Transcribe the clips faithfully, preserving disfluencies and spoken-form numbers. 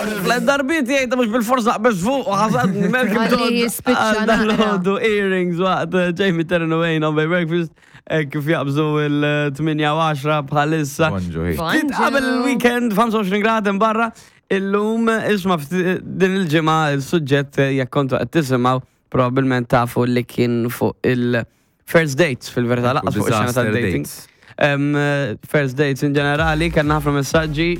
Tlet darbiet jgħid mhux bil-fors naqbeż fuq u ħasadni Malcolm Għalli Todd jispiċċa għal naqra. dal-għodu earrings waqt eh, Jamie Terran Wayne on Breakfast eh, kif jaqbżu il-tmienja u għaxra bħalissa. Bonġu, hi. Ftit qabel il-weekend, ħamsa u għoxrin grad barra, illum isma' ftit- din il-ġimgħa il-suġġett, eh, jekk kontu qed tisimgħu, probabbilment tafu li kien fuq il-first dates, fil-verità lanqas fuq ix-xena Disaster tad-dating. dates. Em, eh, First dates in ġenerali, kellna ħafna messaġġi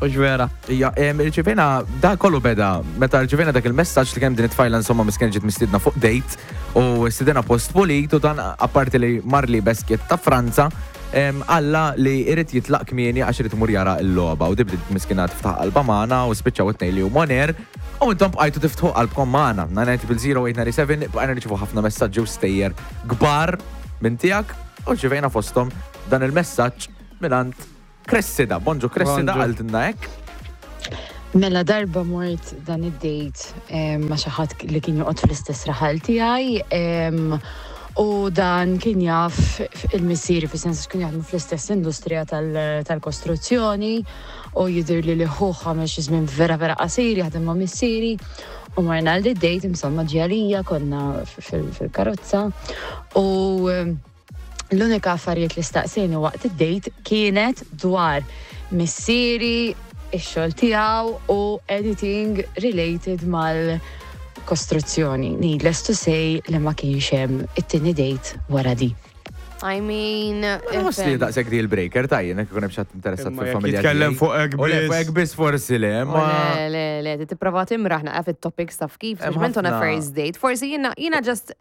u ġvera. Ija, em, irċivejna, da kollu beda, meta rċivejna dak il-messaġġ li kemm din it-tfajla insomma miskin ġiet mistiedna fuq date u stidena post pulit u dan apparti li marli beskiet ta' Franza, em, alla li irid jitlaq kmieni għax irid imur jara l-logħba u dibdi miskina tiftaħ qalba magħna u spiċċaw it-tnejn li huma on air u intom bqajtu tiftħu qalbkom magħna. tnejn sitta seba bqajna nirċivu ħafna messaġġi u stejjer kbar minn tiegħek u rċivejna fosthom dan il-messaġġ mingħand Cressida. Bonġu Cressida. Bonġu. Qaltilna hekk. Mela darba mort dan id-date em, ma' xi ħadd li kien joqgħod fl-istess raħal tiegħi em, u dan kien jaf il-missieri, fis-sens kien jaħdmu fl-istess industrija tal- tal-kostruzzjoni u jidher li li ħuh għamel xi żmien vera vera qasir jaħdem ma' missieri u marna għal date, insomma ġialija konna fil- fil-karozza u em, l-unika affarijiet li staqsejni waqt id-date kienet dwar missieri, ix-xogħol tiegħu u anything related mal-kostruzzjoni. Needless to say li ma kienx hemm it-tieni date wara di. I mean, Nħoss li daqshekk deal breaker tajjeb, jekk ikun hemm xi ħadd interessat Imma jekk fil-familja jitkellem tiegħi. fuq hekk U le, biss. fuq hekk biss forsi le, ma. Le, le, le, tipprova timraħ naqra fit-topics, taf kif, Hemm speċjalment on a ħafna- first date. Forsi jiena, jiena just,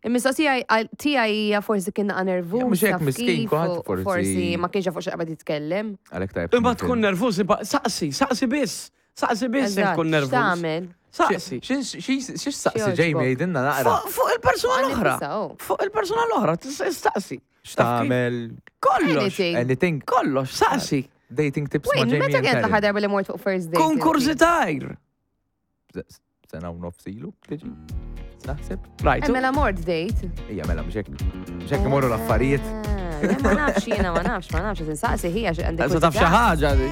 il-mistoqsija tiegħi hija forsi kien naqa nervuż. Ja, mhux hekk taf miskin, kif, kulħadd u forsi- Forsi ma kienx jaf fuq x'qabad jitkellem. Għalhekk tajb. Imma tkun nervuż, imma saqsi, saqsi biss. Saqsi biss jekk Eżatt, tkun nervuż. x'tagħmel? Saqsi. Xiex saqsi Xi Jamie, jogħġbok? jgħidilna naqra. Fuq fuq il-persuna Għan l-oħra. nifisa, oh. Fuq il-persuna l-oħra, tis- staqsi. X'tagħmel? Kollox. Anything. Anything. Kollox, saqsi. Dating tips ma' Wait, Jamie meta and kienet Karen. l-aħħar darba li mort fuq first date? Kun inti? kurżità. Sena u nofs ilu, tiġi? Naħseb? Right. Eh, mela mort date. Ija, mela, mhux hekk. Mhux hekk imorru l-affarijiet. Ah, le, ma nafx jiena, ma nafx, ma nafx, tinsaqsi hija xi għandek. Issa taf xi ħaġa di.